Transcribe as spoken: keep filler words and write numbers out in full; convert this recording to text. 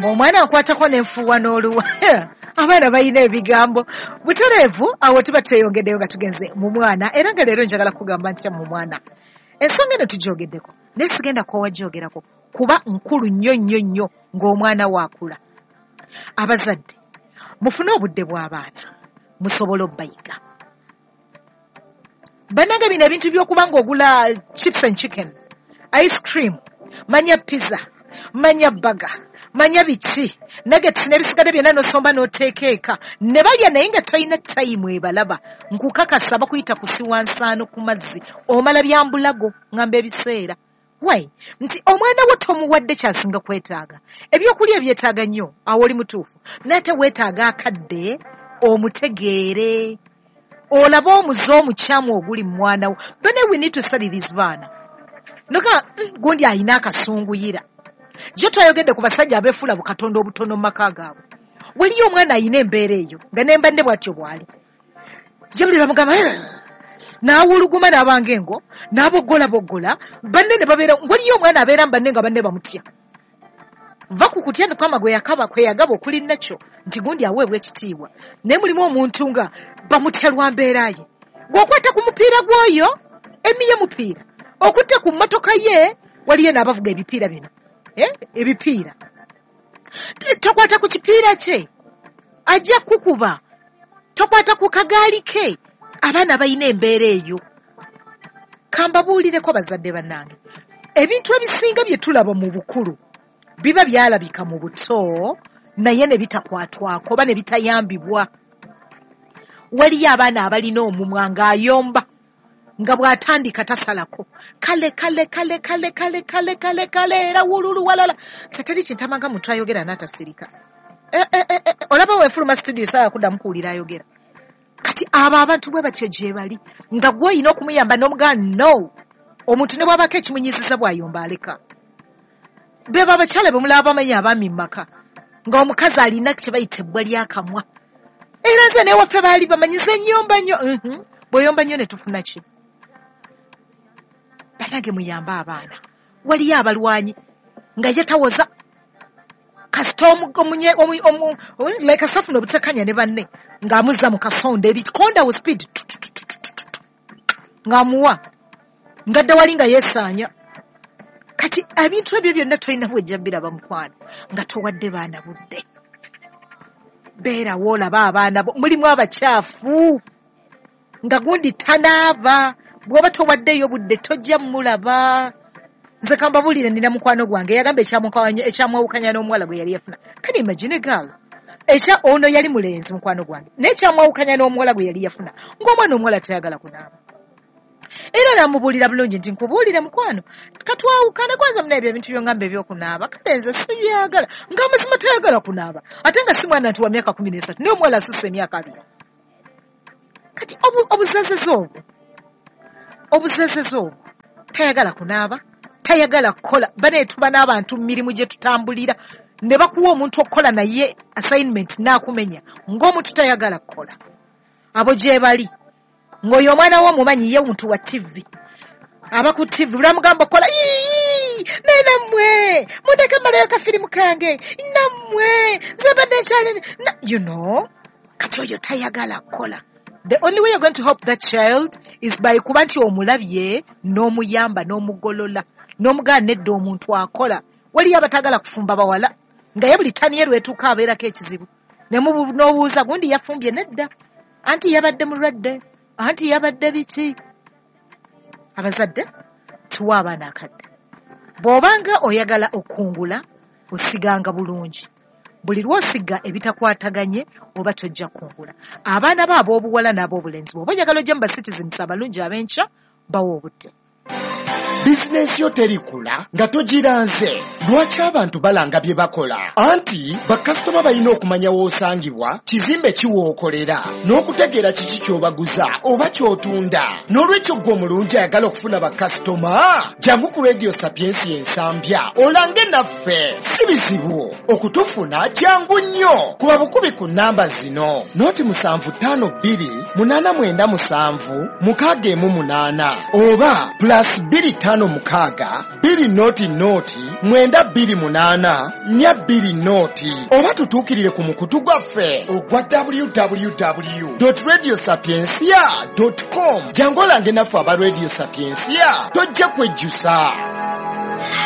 Ng'omwana akwatako n'enfuuwa n'oluwa. Abaana balina ebigambo. Butereevu awo tuba tweyongeddeyo nga tugenze mu mwana, era nga leero njagala kugamba nti mu mwana. Ensonga eno tugyogeddeko, naye sigenda koowa gyogerako kuba nkulu nnyo nnyo nnyo ng'omwana waakula. Abazadde mufune obudde bw'abaana musobole obbayiga. Bannange bino ebintu by'okuba ng'ogula chips and chicken, ice cream, manya pizza, manya burger, manya biki, nuggets n'ebisigadde byonna n'osomba n'oteeka eka ne balya, naye nga tolina tayimu ebalaba. Nkukakasa bakuyita kusiwa nsaano ku mazzi, omala byambulago ngamba ebiseera. Why? Nti omwana wo tomuwadde kyasinga kwetaaga. Ebyokulya ebyetaaga nnyo, awo oli mutuufu, naye ate weetaaga akadde omutegeere, olabe omuze omukyamu oguli mu mwana wo. Bane, we need to study these baana. Noga gundi alina akasunguyira. Gye twayogedde ku basajja abeefuula bukatonda obutono mu maka gaabwe. Waliyo omwana alina embeera eyo nga ne mbanne bw'atyo bw'ali. Ye buli lwamugamba n'awuluguma n'abanga engo n'aboggolaboggola banne ne babeera. Waliyo omwana abeera mu banne nga banne bamutya. Va ku kutya Mukama gwe yakaba kwe yagaba okuli nakyo nti gundi aweebwa ekitiibwa, naye mulimu omuntu nga bamutya lwa mbeera ye. Gw'okwata ku mupiira gw'oyo emiye mupiira, okutte ku mmotoka ye, waliyo n'abavuga ebipiira bino, eh? Ebipiira tokwata ku kipiira kye ajja kukuba, tokwata ku kagaali ke. Abaana balina embeera eyo. Kambabuulireko bazadde bannange, ebintu ebisinga bye tulaba mu bukulu biba byalabika mu buto naye ne bitakwatwako oba ne bitayambibwa. Waliyo abaana abalina omumwa ng'ayomba nga bw'atandika tasalako, kale kale kale kale kale kale kale kale era wululu walala. Seteri kintamanga muntu ayogera n'atasirika. E, e, e, e, olaba weefuluma studio saaya kuddamu kuwulira ayogera. Kati abo abantu bwe batyo gye bali, nga gwe olina okumuyamba n'omugamba no. Omuntu ne bw'abaako ekimunyiiziza bw'ayomba aleka. Beba abakyala be mulaba bamanyi abaami mu maka, ng'omukazi alina kye bayita ebbwa ly'akamwa. Era nze n'ewaffe baali bamanyiza ennyomba nnyo. Bw'oyomba nnyo ne tufuna ki? Bannange muyambe abaana. Waliyo abalwanyi nga ye tawoza kasita like asafuna obutakanya ne banne ng'amuzza mu kasonda ebikonda wo speed ng'amuwa ngadda wali nga yeesaanya. Kati ebintu ebyo byonna tolina bwejja biraba mukwano nga towadde baana budde. Beerawo olaba abaana bo, mulimu abakyafu nga gundi tanaaba, bw'oba towaddeeyo budde tojja mulaba. Nze kambabuulire, nina mukwano gwange yagamba ekyamwawukanya n'omuwala gwe yali yafuna. Can you imagine a girl? Ekya ono yali mulenzi mukwano gwange, naye ekyamwawukanya n'omuwala gwe yali yafuna ng'omwana omuwala tayagala kunaaba. Era namubuulira bulungi nti nkubuulire mukwano, katwawukane kwanza muna ebyo ebintu byongamba ebyokunaaba, kale nze sibyagala. Ng'amazima tayagala kunaaba, ate nga si mwana nti wa myaka kumi n'esatu, naye omuwala asusse emyaka abiri. Kati obuzezeze obwo, obuzezeze obwo, tayagala kunaaba, tayagala kukola. Bane tuba n'abantu mu mirimu gye tutambulira ne bakuwa omuntu okukola naye assignment n'akumenya ng'omuntu tayagala kukola. Abo gye bali ng'oyo omwana wo omumanyi ye muntu wa T V, aba ku T V bulamugamba okukola, naye nammwe mundeke mmalayo kafirimu kange, nammwe nze mbadde nkyali, you know. Kati oyo tayagala kukola. The only way you're going to help that child is by kuba nti omulabye n'omuyamba n'omugolola n'omugaana nedda omuntu akola. Waliyo abatagala kufumba bawala nga ye buli tani ye lwetuuka abeerako ekizibu, n'obuuza gundi yafumbye nedda, anti yabadde mulwadde, anti yabadde biki. Abazadde tuwa abaana akadde. Bw'obanga oyagala okungula osiganga bulungi. Buli lw'osiga ebitakwataganye oba tojja kungula. Abaana bo ab'obuwala n'ab'obulenzi bw'oba oyagala ojje mu ba citizens abalungi ab'enkya, bawa obudde. Bizinensi yo terikula nga togiranze. Lwaki abantu balanga bye bakola? Anti bakasitoma balina okumanya w'osangibwa, kizimbe ki w'okolera, n'okutegeera kiki ky'obaguza oba ky'otunda. N'olwekyo ggwe omulungi ayagala okufuna bakasitoma, jangu ku Radio Sapiensia Ensambya olange naffe. Si bizibu okutufuna, jangu nnyo. Kuba bukubi ku nnamba zino: noti musanvu ttaano bbiri munaana mwenda musanvu mukaaga emu munaana oba plus bbiri ttaano ttaano mukaaga bbiri nooti nooti mwenda bbiri munaana nnya bbiri nooti oba tutuukirire ku mukutu gwaffe ogwa W W W radio sapiensia com. Jangu olange naffe aba Radio Sapiensia, tojja kwejjusa.